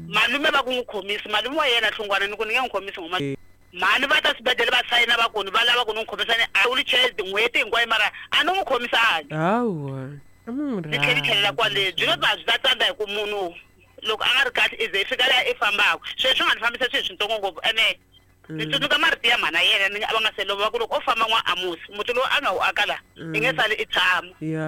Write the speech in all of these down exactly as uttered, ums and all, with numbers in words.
Malume va ku n'wi khomisi malume wa yena hlungwana ni ku ni nge n'wi khomisi ngoma mhani va ta swibedhlele va sayina va ku ni va lava ku ni n'wi khomisa ni a wheelchair tin'hweti hinkwayo mara a ni n'wi khomisangi hawa a mi n'wi ni tlhela ni tlhelela kwale byi lo ba byi ta tsandza hi ku munhu loko a nga ri kahle i ze i fika laha i fambaka sweswi nga ni fambisa swilo swintsongo ngopfu ene ni tsundzuka marito ya mhana yena ni a va nga se lova va ku loko o famba n'wa amusi muti lowu a nga wu aka laha i nge sali i tshama ya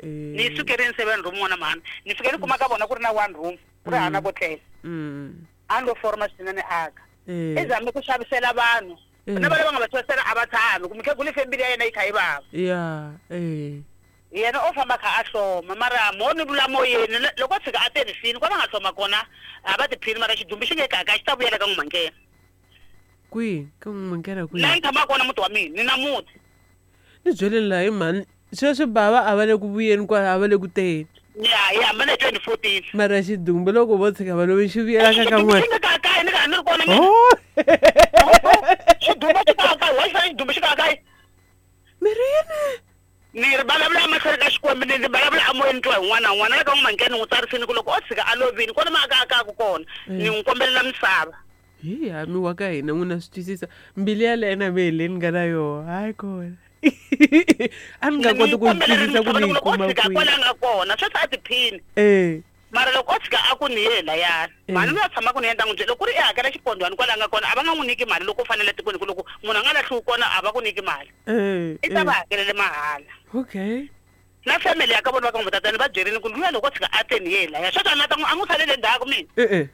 eh ni yi sukerini seven room n'wana mhani ni fike ni kuma ka vona ku ri na one room ku ri hana ko tlela mm a ni lo forma swinene aka eh i zame ku xavisela vanhu Eh. na va lava nga va xavisela a va tshami ku mukhegula i fambile ya yena yi kha yi vava ya eh yena o famba kha a hloma mara mo ni vula moyeni le- loko o tshika a te rifini kwala nga hloma kona a va tiphini mara xidumbu xi nge kaka xi ta vuyela ka n'wumangena kwihi ka n'wi kwihi laha ni tshamaka kona muti wa mina ni na muti ni byeleni laha hi mhani sweswi bava a va le ku vuyeni kwala a va le ku teni ya hi hambana hi twenty fourteen mara xidumbu loko vo tshika va lovi xi vuyela ka ka xidumbu n'wana xi nge kakayi ni ka ni ri kona mina oh xidumbu xi kakayi wa xi fana xidumbu xi kakayi miri yini ni ri vulavula emahlweni ka xikwembu ni ni vulavula emoyeni twa hi n'wana na n'wana na le ka n'wumangena ni n'wi tsarisini ku loko o tshika a lovini kona ma aka akaku kona ni n'wi kombelela misava hi ya mi wa ka hina n'wina swi twisisa mbilu yaleyo na mehe leyi ni nga na yoho hayi kona a ni nga Ni koti n'wi ku yi kombelela twisisa ku misava ni yi loko o kuma tshika kwihi kwala a nga kona sweswi a tiphini eh mara loko o tshika a ku ni ye layani Eh. mhani loyi a tshamaka ni yena ta n'wi byela loko ku ri i hakela xipondwani kwala a nga kona a va nga n'wi nyiki mali loko u fanele tikweni ku loko munhu a nga lahliwi kona a va ku nyiki mali eh i ta va eh. hakelele mahala okay na family ya ka vona va ka n'wi va byerini ku luya loko o tshika a te ni ye laya sweswi a ni ta n'wi a n'wi salele ndzhaku mina eh eh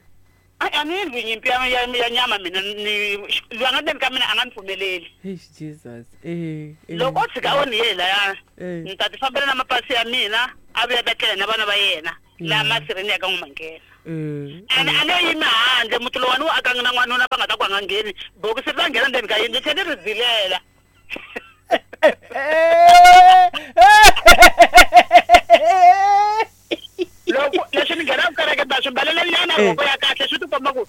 a a ni lwi nyimpi ya ya ya nyama mina ni loyi a nga ndzeni ka mina a nga ni pfumeleli eish jesus eh eh loko o tshika o ni ye laya eh ni ta ti fambela na mapasi ya mina a vuya ta tlela na vana va yena laha masirheni ya ka n'wamangena eh ene a ne yimi handle muti lowani wu akanga na n'wanuna va nga ta ku a nga ngheni bokisi ri ta nghena ndzeni ka yindlu tlhe ni ri zilela loko leswi ni nghenaka kereke ta swi mbalela nyana Eh. rhoko ya kahle swi ti komba ku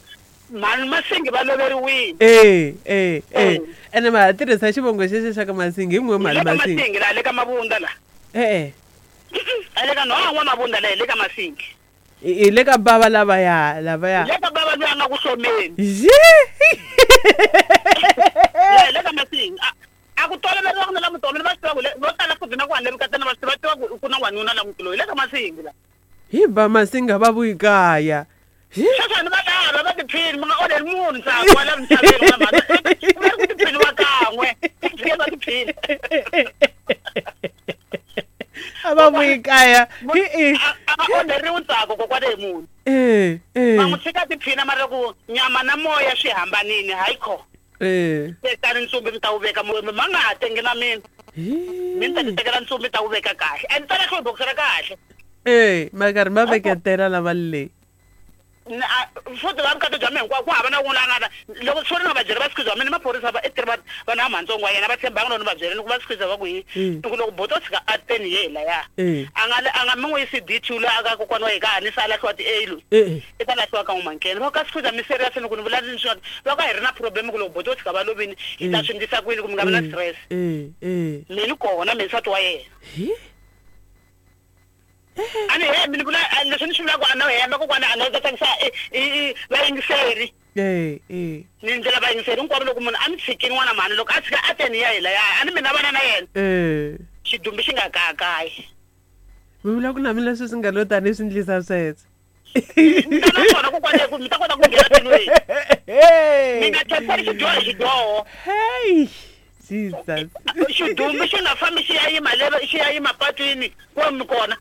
mhani masingi va loveriwile eh eh eh Eh. ene ma ha tirhisa xivongo xexo xa ka masingi hi n'we hi mhani le ka masingi masingi laha le ka mavunda laha eh eh a le ka nhonga n'wa mavunda laha hi le ka masingi hi hi le ka bava lavaya lavaya hi le ka bava loyi a nga ku hlomeni Ye! laha hi le ka masingi a a ku toloveriwa ku na la mutomeni va swi tiva ku le- vo tala futhi na ku handle vukatana va swi tiva tiva ku ku na n'wanuna la muti loyi hi le ka masingi la hi ba masinga va vuyi kaya Hi! sweswi a ni va lava va tiphini mi nga onheli munhu ntsako wa la misaveni wa mhani ku va ri ku tiphini wa kan'we tshike va tiphini a va vuyi kaya hi i a a va onheriwi ntsako kokwana hi munhu eh eh va n'wi tshika tiphina mara loko nyama na moya swi hambanini hayi kho eh tekani ntsumbi mi ta wu veka moyeni ma nga ha tengi na mina Hi. mi ni ta ti tekela ntsumbi mi ta wu veka kahle and ta lahliwa bokisi ra kahle eh ma karhi ma veketela lava le Ni- a- futhi va vukati bya mina hinkwako ku hava na wun'we la nga ta loko swo ri nga va byela va sikhiza wa mina maphorisa va i tirhi va vanhu va mhantsongo wa yena va tshembanga loko ni va byela ni ku va sikhiza va ku yi Mm. ni ku loko boto tshika a teni ye laya Eh. a nga a nga mi n'wi yisi D two loyi a ka kokwana wa yena ka ha ni se a lahliwa ti-A loyi eh eh i ta lahliwa ka n'wamankene va ka sikhiza mi serious ni ku ni vula ni swi va ka hi ri na problem ku loko boto tshika va lovini hi ta Mm. swi ndlisa ku yini ku mi nga vi na stress eh eh mina kona mina nsati wa yena hi a ni hembi ni vula a- leswi ni swi vulaka a no hemba kokwana a no ta tsakisa i- i- i- vayingiseri eh eh ni ndlela vayingiseri hinkwavo loko munhu a mi tshikini n'wana mhani loko a tshika a teni ya hi laya a ni mina vana na yena eh xidumbu xi nga kakayi mi vula ku na mina leswi swi nga lo tani swi ndlisa sweswo mi ta na swona kokwana ku mi ta kota ku nghena tilweni mi nga tlheriseli xidyoho hi xidyoho hey jesus xidumbu xi nga fambi xi ya yima le xi ya yima patwini ku mi kona